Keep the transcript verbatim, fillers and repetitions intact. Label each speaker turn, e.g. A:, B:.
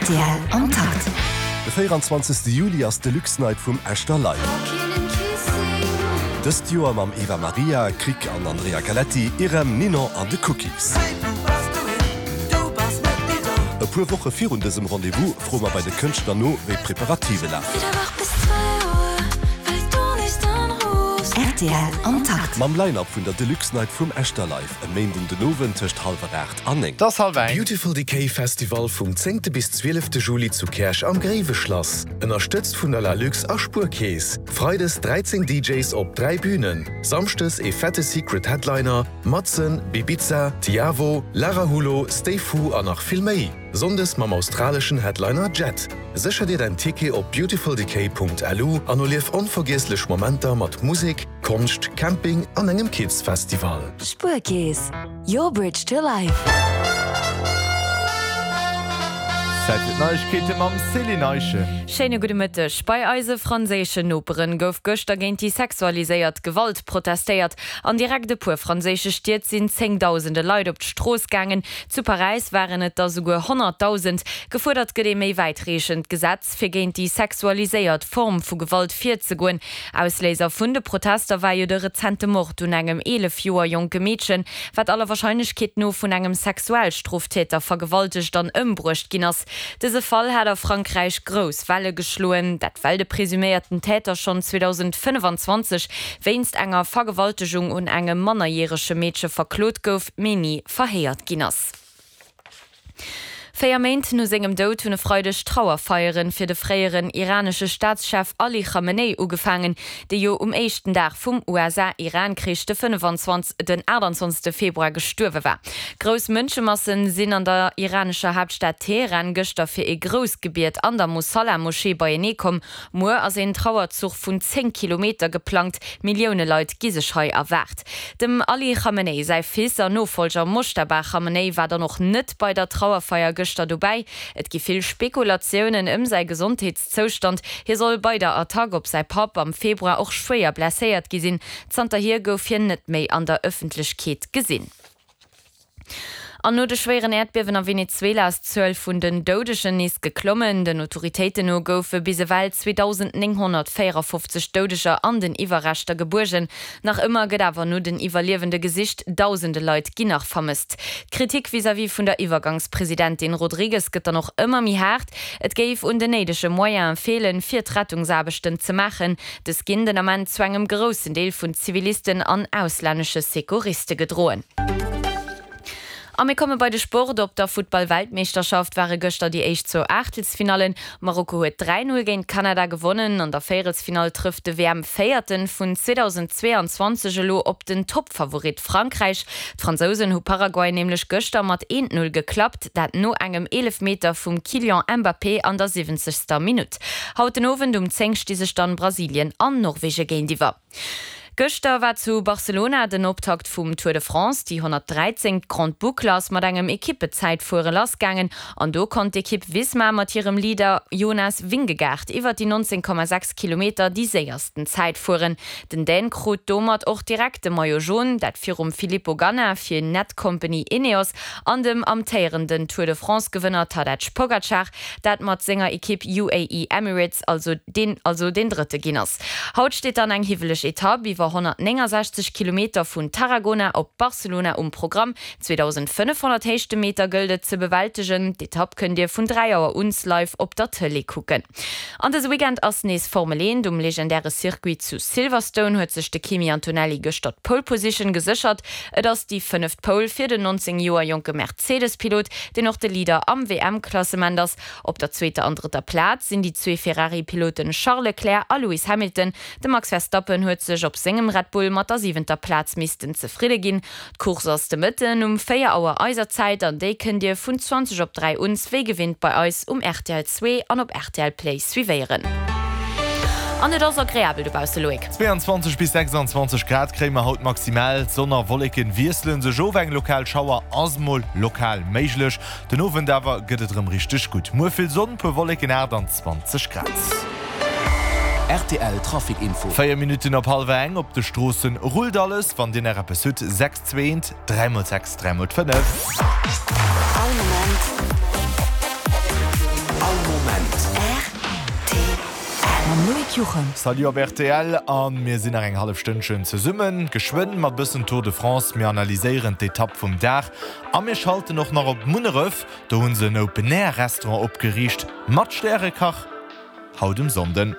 A: Rtl am Takt.
B: De véieranzwanzegste Juli ass d'Deluxe Night vum Echter Live. Dëst Joer mam Eva Maria, Krick an Andrea Galetti, Irem, Ninon an de Cookies. E puer Woche virun dësem Rendez-vous froe mer bei de Kënschtler no, wéi d'Preparative lafen.
A: Rtl am Takt.
B: Mam Line-Up vun der Deluxe Night vum Echter Live e Méinden den Owend tëscht hallwer aacht an néng.
C: Et ass hallwer eng.
D: Beautiful Decay Festival vum zéngte bis zwielefte Juli zu Käerch am Gréiweschlass. Ënnerstëtzt vun der Lalux a Spuerkeess. Freides dräizéng D Js op dräi Bünen, Samschdes ee fette Secret Headliner, Madsen, Bibiza, Tiavo, Lara Hulo, Stay Fu an nach vill méi. Sonndes mam australeschen Headliner Jet. Sécher dir däin Ticket op beautifuldecay Punkt L U an erlief onvergiesslech Momenter mat Musek, Konscht, Camping an engem Kids Festival.
A: Spuerkeess, your bridge to life.
C: Zäit fir d'Neiegkeete mam Céline Eischen.
E: Schéine gudde Mëtteg. Bei eise franséischen Noperen gouf gëschter géint déi sexualiséiert Gewalt protestéiert. An direkt e puer franséische Stied sinn zéngdausende Leit op d'Strooss gaangen. Zu Paräis waren et der souguer honnertdausend. Gefuerdert gëtt ee méi wäitreechend Gesetz, fir géint déi sexualiséiert Form vu Gewalt virzegoen. Ausléiser vun de Protester war jo de rezente Mord un engem eelef Joer jonke Meedchen, wat aller Warscheinlechkeet no vun engem Sexualstroftäter vergewaltegt an ëmbruecht ginn ass. Dëse Fall hat a Frankräich grouss Welle geschloen, dat well de presuméierten Täter schonn zweedausendfënnefenzwanzeg wéinst enger Vergewaltegung un engem mannerjärege Meedche verklot gouf, mee ni verhéiert ginn ass. Véier Méint no sengem Doud hunn e Freideg Trauerfeieren fir de fréieren iranesche Staatschef Ali Khamenei ugefaangen, dee jo um éischten Dag vum U S A-Iran-Krich, de fënnefenzwanzeg den aachtanzwanzegste Februar gestuerwe war. Grouss Mënschemassen sinn an der iranescher Haaptstad Teheran gëschter fir ee grousst Gebiet an der Mosalla-Moschee beienee komm. Muer ass een Trauerzuch vun zéng Kilometer geplangt, Millioune Leit gi sech hei erwaart. Dem Ali Khamenei säi Fils an Nofollger Moschtaba Khamenei war dann och net bei der Trauerfeier gëschter dobäi. Et gi vill Spekulatiounen ëm säi Gesondheetszoustand. Hie soll bei der Attack op säi Papp am Februar och schwéier blesséiert gi sinn. Zanterhier gouf hien net méi an der Ëffentlechkeet gesinn. An no de schwéieren Äerdbiewen a Venezuela ass d'Zuel vun den Doudegen nees geklommen. Den Autoritéiten no goufe bis ewell zweedausendnénghonnertvéierafofzeg Doudeger an den Iwwerreschter gebuergen. Nach ëmmer gëtt awer no den Iwwerliewende gesicht, dausende Leit ginn nach vermësst. D'Kritik vis-à-vis vun der Iwwergangspresidentin Rodriguez gëtt dann och ëmmer méi haart. Et géif un den néidege Moyene feelen, fir d'Rettungsaarbechten ze maachen. Dës ginn den Ament zu engem groussen Deel vun Zivilisten an auslännesche Secouriste gedroen. A mir komme bei de Sport. Op der Futtball-Weltmeeschterschaft ware gëschter déi éischt zwou Aachtelsfinallen. Marokko huet dräi Null géint Kanada gewonnen. An der Véierelsfinall trëfft de W M-Véierte vun zweedausendzweeanzwanzeg elo op den Toppfavorit Frankräich. D'Fransousen hu Paraguay nämlech gëschter mat eent Null geklappt, dat no engem Eelefmeter vum Kylian Mbappé an der siwwenzegster Minutt. Haut den Owend um zéng sti sech dann Brasilien an Norwegen géintiwwer. Gëschter war zu Barcelona den Optakt vum Tour de France. Déi honnertdräizéngt. Grande Boucle ass mat engem Ekippezäitfuere lassgaangen an do konnt d'Ekipp Visma mat hirem Leader Jonas Vingegaard iwwer déi nonzéng Komma sechs Kilometer déi séiersten Zäit fueren. Den Dän krut domat och direkt de Maillot Jaune, dat virum Filippo Ganna fir Netcompany Ineos an dem amtéierenden Tour de France Gewënner Tadej Pogacar, dat mat senger Ekipp U A E Emirates also deen also deen Drëtte ginn ass. Haut steet dann eng hiwweleg Etapp iwwer honnertnéngensechzeg Kilometer vun Tarragona op Barcelona um Programm. zweedausendfënnefhonnert Héichtemeter gëllt et ze bewältegen. D'Etapp kënnt Dir vun dräi Auer un live op der Tëlee kucken. An dëse Weekend ass nees Formel eent. Um legendäre Circuit zu Silverstone huet sech de Kimi Antonelli gëschter d'Pole Position geséchert. Et ass déi fënneft Pole fir den nonzéng Joer jonke Mercedes-Pilot, deen och de Leader am W M-Klassement ass. Op der zweeter an drëtter Plaz sinn déi zwee Ferrari-Piloten Charles Leclerc a Lewis Hamilton. De Max Verstappen huet sech op sengem Red Bull mat der siwenter Plaz missten zefridde ginn. D'Course ass de Mëtten um véier Auer eiser Zäit an déi kënnt Dir vun zwanzeg op dräi un wéi gewinnt bei eis um R T L zwee an op R T L Play suivéieren. An et ass agreabel dobausse, Loïc.
C: Zweeanzwanzeg bis sechsanzwanzeg Grad kréie mer haut maximal. Sonn a Wolleken wiesselen sech of, eng lokal Schauer ass mol lokal méiglech. Den Owend awer gëtt et erëm richteg gutt. Muer vill Sonn, puer Wolleken, aachtanzwanzeg Grad.
F: R T L Trafic Info.
C: Véier Minutten op hallwer eng. Op de Stroossen rullt alles. Wann Dir nach eppes hutt, sechs zwee eent dräi mol sechs dräi mol fënnef.
A: All Moment Mam Loïc Juchem.
C: Salut op rtl a mir sinn nach eng hallef Stënnchen zesummen. Geschwënn mat bëssen Tour de France, mir analyséieren d'Etapp vum Dag a mir schalten och nach op Munneref, do hunn se en Open Air Restaurant opgeriicht mat Stärekach haut um Sonnden.